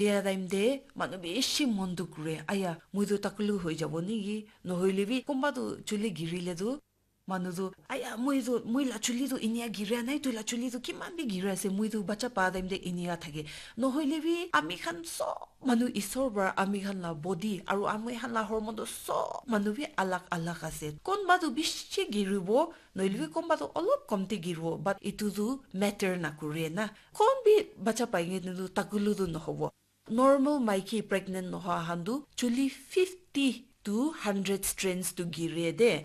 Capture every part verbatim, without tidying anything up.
Dia time te manu bishi mon dukh kure, aya, moi tu takulu hoi jabo niki? Nohoile bi konba tu chuli girile tu manu tu, aya, moi tu, moi la chuli tu inia giria nai, tu la chuli tu kiman bi gira ase, moi tu bacha pa time te inia thake. Nohoile bi ami khan sob manu isor para ami khan la body aru ami khan la hormone tu sob manu bi alag alag ase. Konba tu bishi giribo, nohoile bi konba tu olop komti giribo, but itu tu matter na kure na. Kon bi bacha pai nge tu takulu tu nohobo. Normal maiki pregnant nohoa khan tu chuli fifty to hundred strands tu gire de.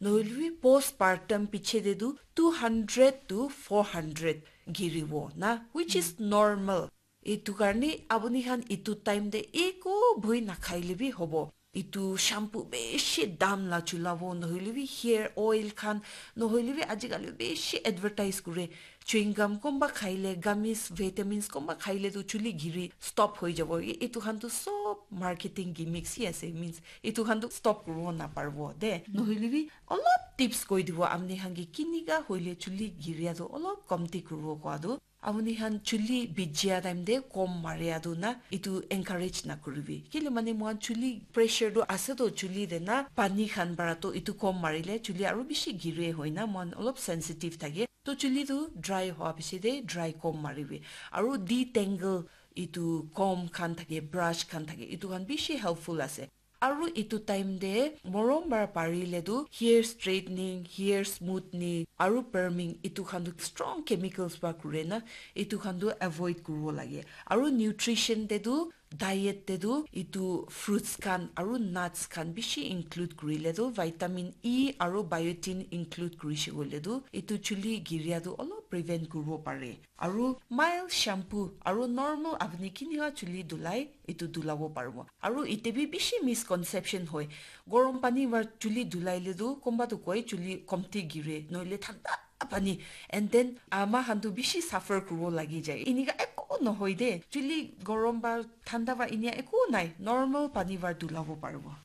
Nohoile bi postpartum piche de tu two hundred to four hundred giribo na, which is normal. Itu karne apuni khan itu time de eko bhoi nakhaile bi hobo. Itu shampoo bishi dam la chulabo, nohoile bi hair oil khan, nohoile bi ajikali bishi advertise kure. Chewing gum konba khaile, gummies, vitamins konba khaile tu chuli giri stop hoi jabo. I-, itu khan tu sob marketing gimmicks hi ase, means itu khan tu stop kuribo naparibo de. Nohoile bi olop tips koi dibo, apni khan ke kinika hoile chuli giria tu olop komti kuribo koa tu. Apuni khan chuli bijia time te kom maria tu na, itu encourage na kuribi. Kile mane mohan chuli pressure tu ase to chuli de na, pani khan para to itu kom marile chuli aru bishi gire hoi na, mohan olop sensitive thake. To chuli tu dry hoa piche de dry comb maribi. Aru detangle itu comb khan thake, brush khan thake, itu khan bishi helpful ase. Aru itu time de morom para parile tu hair straightening, hair smoothening, aru perming itu khan tu strong chemicals para kure na, itu khan tu avoid kuribo lage. Aru nutrition de tu diet te tu itu fruits khan aru nuts khan bishi include kurile tu vitamin E aru biotin include kurishe koile tu itu chuli giria tu olop prevent kuribo pare. Aru mild shampoo aru normal apni kinika chuli dulai itu dulabo paribo. Aru ite bi bishi misconception hoi. Gorom pani para chuli dulaile tu konba tu koi chuli komti gire, noile thanda pani. And then ama khan tu bishi suffer kuribo lagi jai. Inika eko nohoi de. Chuli gorom ba thanda ba inia eko nai. Normal pani para dulabo paribo.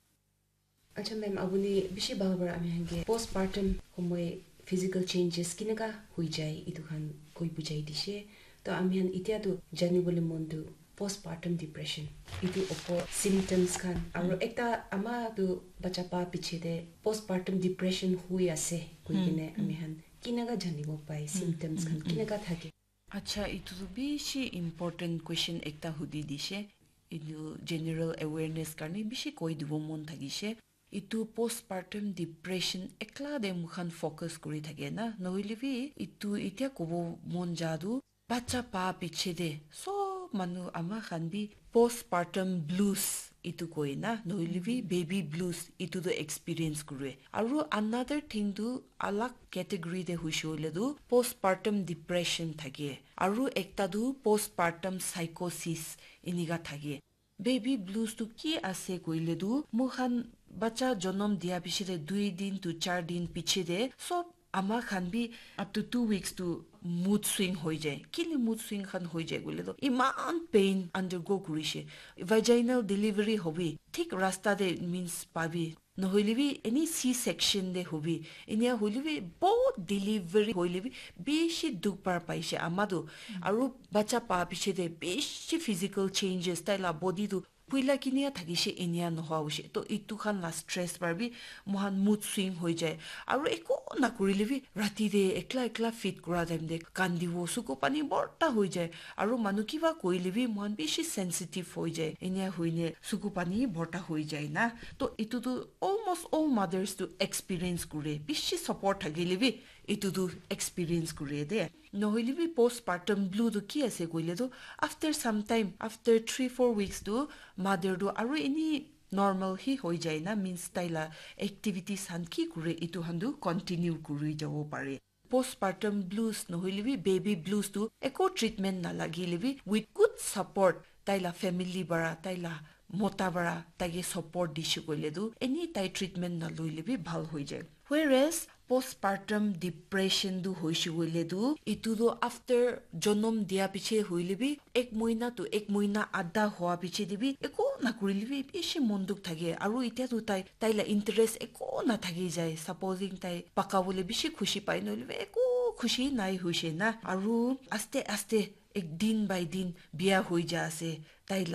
Acha ma'am, apuni bishi bhal para ami khan ke postpartum homoi physical changes kinaka hoi jai itu khan koi bujai dishe. To ami khan itya tu janibole mon tu postpartum depression itu opor symptoms khan aru ekta ama tu bacha pa piche de postpartum depression hui ase koi kine ami khan kinaka janibo pai, symptoms khan kinaka thake? Acha, itu tu bishi important question ekta hudi dishe. Itu general awareness karne bishi koi dibo mon thakishe. Itu postpartum depression ekla de mukhan focus kuri thake na. Nohoile bi itu itya kobo mon ja tu bacha pa piche de sob manu ama khan bi postpartum blues itu koi na. Nohoile bi baby blues itu tu experience kure. Aru another thing tu alag category de hoishe hoile tu postpartum depression thake. Aru ekta tu postpartum psychosis inika thake. Baby blues tu ki ase koile tu, mukhan bacha jonom dia piche de dui din to char din piche de sob ama khan bi up to two weeks tu mood swing hoi jai. Kile mood swing khan hoi jai koile tu iman pain undergo kurishe. Vaginal delivery hobi, thik rasta de means pabi. Nohoile bi any C section de hobi, enia hoile bi bahut delivery hoile bi bishi dukh par paishe ama tu. Aru bacha pa piche de bishi physical changes, tai la body tu puila kinia thakishe enia nohoa hoishe. To itu khan la stress par bi mohan mood swing hoi jai. Aru eko nakurile bi rati de ekla ekla feed kura time de kandibo, suku pani borta hoi jai. Aru manu kiba koile bi mohan bishi sensitive hoi jai. Enia hoine suku pani borta hoi jai na. To itu tu almost all mothers tu experience kure. Bishi support thakile bi itu tu experience kure de. Nohoile bi postpartum blue tu ki ase koile tu, after some time, after three four weeks tu mother tu aru eni normal hi hoi jai na, means tai la activities khan ki kure itu khan tu continue kuri jabo pare. Postpartum blues nohoile bi baby blues tu eko treatment nalagile bi with good support tai la family para, tai la mota para taike support dishe koile tu any tai treatment naloile bi bhal hoi jai. Whereas postpartum depression tu hoishe koile tu itu tu after jonom dia piche hoile bi ek moina tu ek moina adha hoa piche de bi eko nakurile bi bishi mon dukh thake. Aru itya tu tai, tai la interest eko nathaki jai. Supposing tai paka bole bishi khushi pai nohoile bi eko khushi nai hoishe na. Aru aste aste ek din by din biya hoi ja ase, tai la